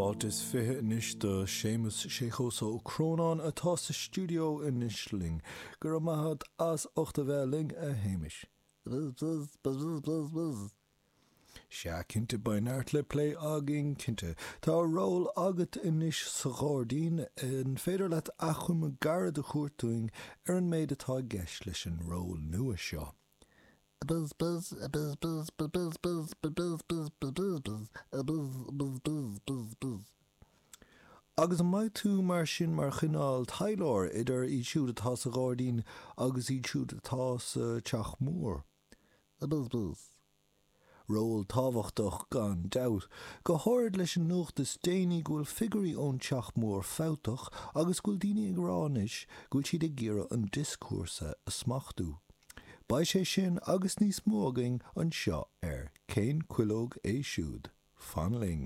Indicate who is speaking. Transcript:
Speaker 1: Fáilte is 20 anois do Séamus Séchos Ó Crónáin atá sa stiúideo anois linn. Go raibh maith agat as ucht a bheith linn, a Shéamais. Buzz buzz buzz buzz buzz buzz. Sea, cinnte, beidh neart le plé againn, cinnte. Tá ról agat anois sa ghairdín, an féidir leat achoimre gairid a thabhairt dúinn ar an méid atá i gceist leis an ról nua seo? Buzz buzz buzz buzz buzz buzz buzz buzz buzz buzz buzz buzz buzz buzz buzz. Agus an mbeidh tú mar sin mar chineál taidhleoir idir iad siúd atá sa ghairdín agus iad siúd atá sa teach mór? Buzz buzz. Ról tábhachtach gan dabht, go háirid leis an nuacht is déanaí go bhfuil figiúirí ón Teach Mór fabhtach agus go bhfuil daoine ag rá anois go bhfuil siad ag iarraidh an dioscúrsa a smachtú. Beidh sé sin agus níos mó againn anseo ar Cén Cuileog É Siúd? Fan linn!